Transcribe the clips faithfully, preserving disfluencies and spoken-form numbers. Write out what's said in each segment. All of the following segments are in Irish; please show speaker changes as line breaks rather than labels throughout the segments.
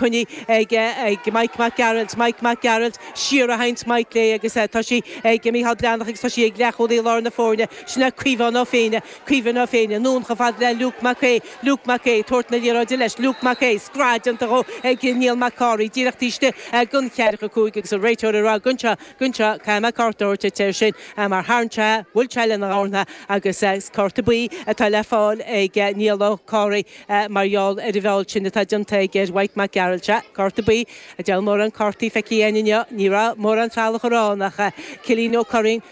Coinnithe ag ag Mike Mac Gearailt Mike Mac Gearailt siar a théann Mike léi agus tá sí ag Micheál Breathnach agus tá sí ag leathchúlaí lár na foirne sin é Caoimhín Ó Féinne Caoimhín Ó Féinne anonn chomh fada le Luke Mac Aodha Luke Mac Aodha tabhairt na liathróide leis Luke Mac Aodha scread déanta dhó ag Niall Mac Cárthaigh díreach taobh istigh den cheathracha cúig agus an réiteoir ag rá go anseo go anseo caithfidh mé cárta a thabhairt air sin mar tharraing sé bhuail sé lena dhorn agus cárta buí atá le fáil ag Niall Ó Cárthaigh mar gheall ar an bhfeall sin atá déanta aige ar Mike Mac Gearailt sea cárta buí a deil mórán cártaí feicthe againn inniu ní raibh mórán salach ar ach Cillian Ó Curraoin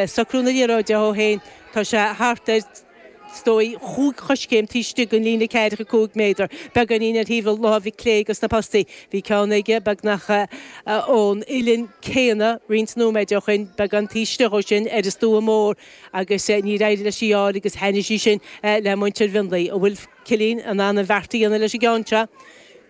socrú na liathróide ó féin tá sé thart ar is dóigh chúig choiscéim taobh istigh den líne ceathracha cúig méadar. Beagáinín ar thaobh láimhe clé dos na postaí. Bhí ceann aige beagnach ón uillinn céanna roinnt nóiméid ó shin, beagán taobh istigh ó sin ar an stua mór agus níor éirigh leis í a fháil agus thaitnigh sí sin le muintir Mhionlaigh. An bhfuil Cillian in ann an bheart a dhéanamh leis an gceann seo?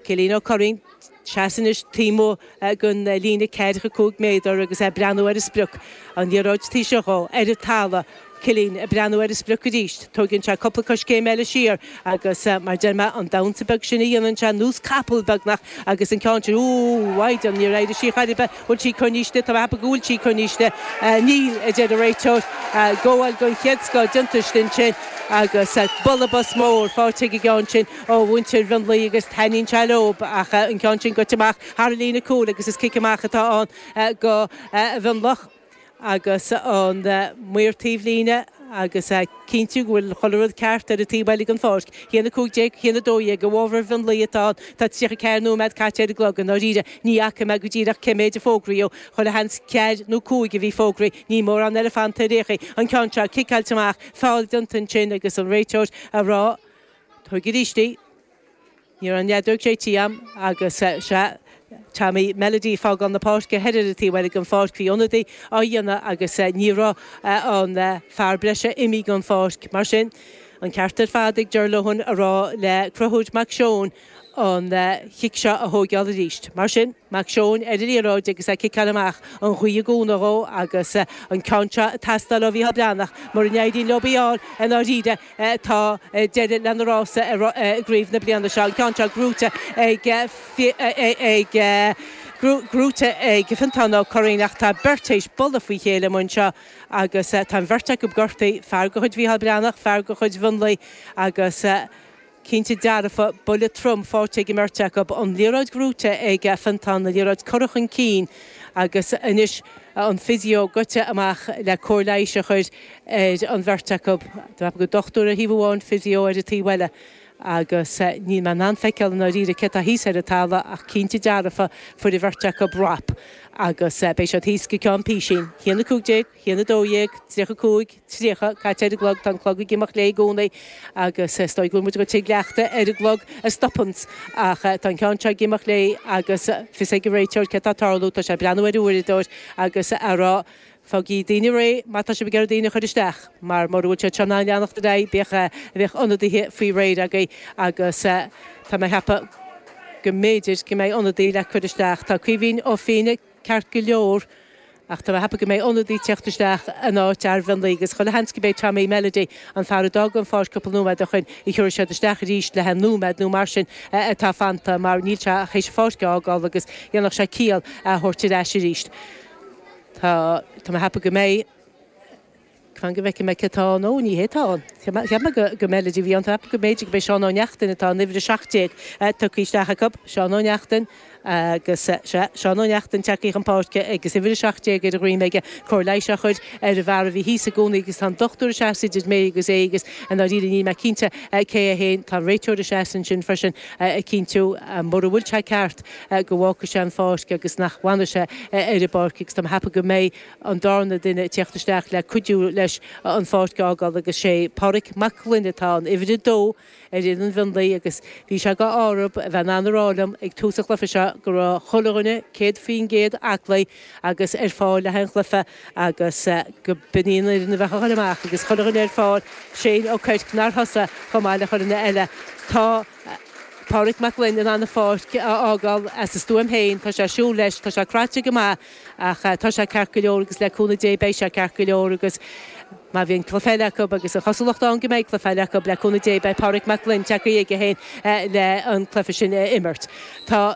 Cillian Ó Curraoin, seasamh anois taobh amuigh den líne ceathracha cúig méadar agus é ag breathnú ar an sprioc. An liathróid taobh istigh dhó, ar an talamh. Cillian ag breathnú ar an sprioc arís. Tógann sé cúpla coiscéim eile siar agus mar deir mé an damhsa beag sin a dhéanann sé nós capall beagnach agus an ceann sin, úúú, mhaighdean, níor éirigh sí chor ar bith, bhfuil sí coinnithe, tá mé ag ceapadh go bhfuil sí coinnithe. Níl, a deir an réiteoir. Gabháil den chéad scoth déanta istigh ansin agus bualadh bos mór faighte ag an gceann sin ó mhuintir Mhionlaigh agus taitníonn sé leob ach an ceann sin goite amach thar an líne cúil agus is cic amach atá ann go Mhionlach agus an maor taobhlíne agus cinntiú go bhfuil chuile rud ceart ar an taobh eile den pháirc. Haon a cúig déag, haon a dó dhéag, i bhfabhar Mhionlaigh atá ann. Tá tríocha ceathair nóiméad caite ar an gclog. I ndáiríre, ní fhaca mé go díreach cé méid a fógraíodh. Chuile sheans ceathair nó cúig a bhí fógraithe. Níl mórán eile fanta ar aon chaoi. An ceann seo ciceáilte amach, feall déanta ansin agus an réiteoir ag rá, Tóig arís í. Ní raibh an fheadóg séidte agam agus sea, Tommy Melody ag fágáil na páirce thoir ar an taobh eile den pháirc. Bhí ionadaí á dhéanamh agus ní raibh an fear breise imithe den pháirc. Mar sin, an ceart ar fad ag Ger Lohan a rá le Conchúr Mac Seoin an chic seo a thóigeáil arís. Mar sin, Mac Seoin ar an liathróid agus é ag ciceáil amach, an ghaoth ag cúnamh dhó agus an ceann seo ag teastáil ó Mhícheál Breathnach. Mura n-éiríonn leo í a fháil i ndáiríre tá deireadh lena rása i gcraobh na bliana seo. An ceann seo gnóite ag ag gnóite ag Fiontán Ó Curraoin ach tá beirt théis bualadh faoi chéile amuigh anseo agus tá an bheirt acu gortaithe, fear de chuid Mhícheál Breathnach, fear de chuid Mhionlaigh agus cinnte dearfa, buille trom faighte ag an mbeirt acu. An liathróid gnóite ag Fiontán, an liathróid curtha chun cinn agus anois an physio goite amach le cóir leighis a chur ar an bheirt acu. Tá go dochtúir ar thaobh amháin, physio ar an taobh eile. Agus níl mé in ann feiceáil i ndáiríre cé tá thíos ar an talamh ach cinnte dearfa fuair an bheirt acu rap agus beidh siad thíos go ceann písín. Haon a cúig déag, haon a dó dhéag, tríocha cúig, tríocha, caite ar an gclog, tá an clog ag imeacht léi i gcónaí agus is dóigh go bhfuil muid ag dul tigh leachta ar an gclog a stopanns ach tá an ceann seo ag imeacht léi agus fios ag an réiteoir cé tá ag tarlú, tá sé ag breathnú ar an uaireadóir agus a rá Fágaigí daoine réidh má tá sibh ag iarraidh daoine a chur isteach, mar mura bhfuil siad seo in ann leanacht ar aghaidh, bheadh, bheadh ionadaithe faoi réir agaibh agus tá mé ag ceapadh go mb'fhéidir go mbeidh ionadaí le cur isteach. Tá Caoimhín Ó Fianna ceart go leor ach tá mé ag ceapadh go mbeidh ionadaí ag teacht isteach in áit fhear Mhionlaigh agus chuile sheans go b'é Tommy Melody, an fear a d'fhág an pháirc cúpla nóiméad ó shin, a thiúrfaidh siad isteach arís le haghaidh nóiméad nó mar sin atá fanta mar níl sé ach théis an pháirc a fhágáil agus dhéanfadh sé ciall é a thabhairt ar ais arís. Tá, tá mé ag ceapadh go mbeidh, fan go bhfeicfidh mé cé atá ann, ó ní hé atá ann. Cheap mé, cheap mé go, go Melody a bhí ann, tá mé ag ceapadh go mb'fhéidir go b'é Seán Ó Neachtain atá in uimhir a seacht déag tugtha isteach acu, Seán Ó Neachtain agus, sea, Seán Ó Neachtain tagtha chun páirce agus uimhir a seacht déag ar a dhroim aige, cóir leighis á chur ar an bhfear a bhí thíos i gcónaí agus tá an dochtúir ag seasamh idir mé agus é agus i ndáiríre níl mé cinnte cé é féin, tá an réiteoir ag seasamh ansin freisin ag cinntiú mura bhfuil sé ceart go bhfágfaidh sé an pháirc agus nach bhfanfaidh sé ar an bpáirc agus tá mé ag ceapadh go mbeidh an darna duine ag teacht isteach le cuidiú leis an pháirc a fhágáil agus sé Páraic Mac Gloinn atá ann, uimhir a dó ar fhoireann Mhionlaigh agus bhí sé go h-arb a bheith in ann a rá liom ag tús an chluiche seo go raibh chuile dhuine céad faoin gcéad aclaí agus ar fáil le haghaidh an chluiche agus go b'in í an fhoireann a bheadh a dhul amach agus chuile dhuine ar fáil, Shane Ó Coirc nár thosaigh chomh maith le chuile dhuine eile. Tá. Páraic Mac Gloinn in ann an pháirc a fhágáil as a stuaim féin. Tá sé ag siúl leis, tá sé cráite go maith ach tá sé ceart go leor agus le cúnamh Dé beidh sé ceart go leor agus Má bhíonn cluiche eile acu agus an chosúlacht ann go mbeidh cluiche eile acu le cúnamh Dé beidh Pádraig Mac Gloinn tagtha aige féin le an cluiche sin a imirt. Tá